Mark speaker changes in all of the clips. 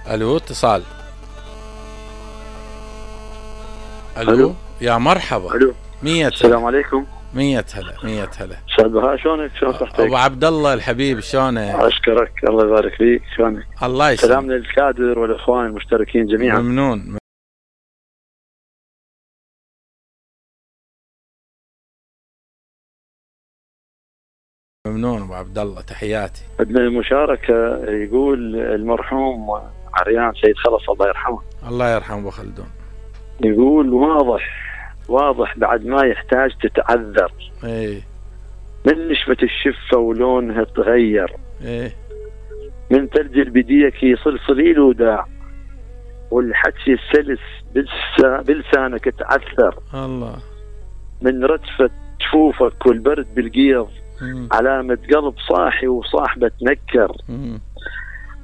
Speaker 1: الو اتصال.
Speaker 2: الو
Speaker 1: يا مرحبا.
Speaker 2: الو
Speaker 1: 100
Speaker 2: السلام عليكم.
Speaker 1: 100 هلا 100 هلا.
Speaker 2: استاذ بهاء شلونك؟ شلون صحتك؟
Speaker 1: ابو عبد الله الحبيب شلونك؟
Speaker 2: اشكرك الله يبارك فيك. شلونك؟
Speaker 1: الله يسلمك.
Speaker 2: سلام للكادر والاخوان المشتركين جميعا.
Speaker 1: ممنون. ممنون ابو عبد الله، تحياتي.
Speaker 2: عندنا المشاركه يقول المرحوم عريان سيد خلص الله يرحمه.
Speaker 1: الله يرحمه ابو خلدون.
Speaker 2: يقول واضح بعد ما يحتاج تتعذر.
Speaker 1: ايه
Speaker 2: من نشفة الشفة ولونها تغير.
Speaker 1: ايه
Speaker 2: من ثلج البديك يصل صليل وداع. والحكي السلس بلسانك تعثر.
Speaker 1: الله.
Speaker 2: من رتفة جفوفك والبرد بالقيض. علامة قلب صاحي وصاحبة تنكر.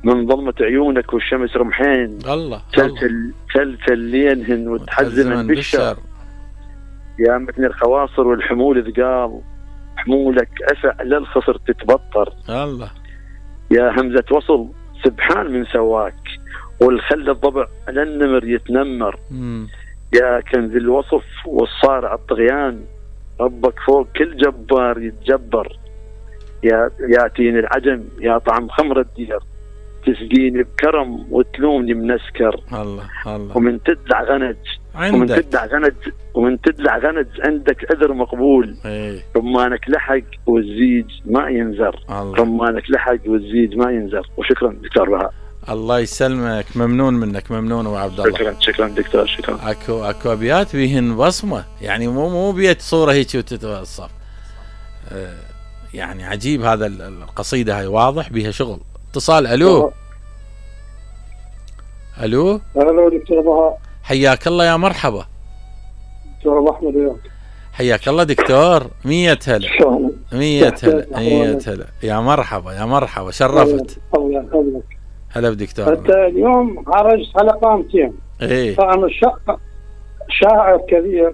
Speaker 2: من ظلمة عيونك والشمس رمحين.
Speaker 1: الله.
Speaker 2: تلتل لينهن وتحزمن بالشر. يا متن الخواصر والحمول ثقال. حمولك أفع للخصر تتبطر.
Speaker 1: الله.
Speaker 2: يا همزة وصل سبحان من سواك. والخل الضبع للنمر يتنمر. يا كنز الوصف والصارع الطغيان. ربك فوق كل جبار يتجبر. يا تين العجم يا طعم خمر الدير. تسقيني بكرم وتلومني منسكر.
Speaker 1: الله الله.
Speaker 2: ومن تدلع غنج ومن تدلع غنج عندك أذر مقبول.
Speaker 1: ايه.
Speaker 2: رمانك لحق والزيج ما ينزر.
Speaker 1: الله.
Speaker 2: رمانك لحق والزيج ما ينزر. وشكرا دكتور بهاء.
Speaker 1: الله يسلمك، ممنون منك، ممنون ابو عبد الله.
Speaker 2: شكرا دكتور، شكرا.
Speaker 1: اكو ابيات بيهن بصمه، يعني مو بيت صوره هيك وتتوصف. يعني عجيب هذا القصيده هاي، واضح بيها شغل. اتصال. الو
Speaker 3: دكتور بهاء.
Speaker 1: حياك الله يا مرحبا.
Speaker 3: دكتور ابو احمد وياك.
Speaker 1: حياك الله دكتور. 100 هلا. 100 هلا 100 هلا. يا مرحبا شرفت.
Speaker 3: الله يخليك.
Speaker 1: هلا بدكتور.
Speaker 3: انت اليوم عرجت على قامتين.
Speaker 1: ايه.
Speaker 3: طبعا شاعر كبير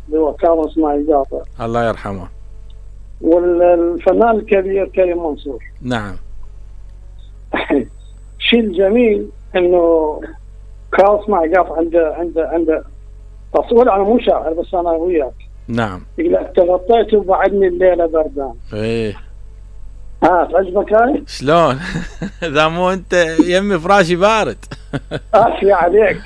Speaker 3: اللي هو كاظم اسماعيل قاطع
Speaker 1: الله يرحمه،
Speaker 3: والفنان الكبير كريم منصور.
Speaker 1: نعم.
Speaker 3: الشيء الجميل انه كاظم اسماعيل قاطع عنده تصوير. انا مو شاعر بس انا وياك.
Speaker 1: نعم.
Speaker 3: يقول تغطيت وبعدني الليله بردان.
Speaker 1: ايه.
Speaker 3: تعجبك هاي؟
Speaker 1: شلون؟ اذا مو انت يمي فراشي بارد.
Speaker 3: عافية عليك.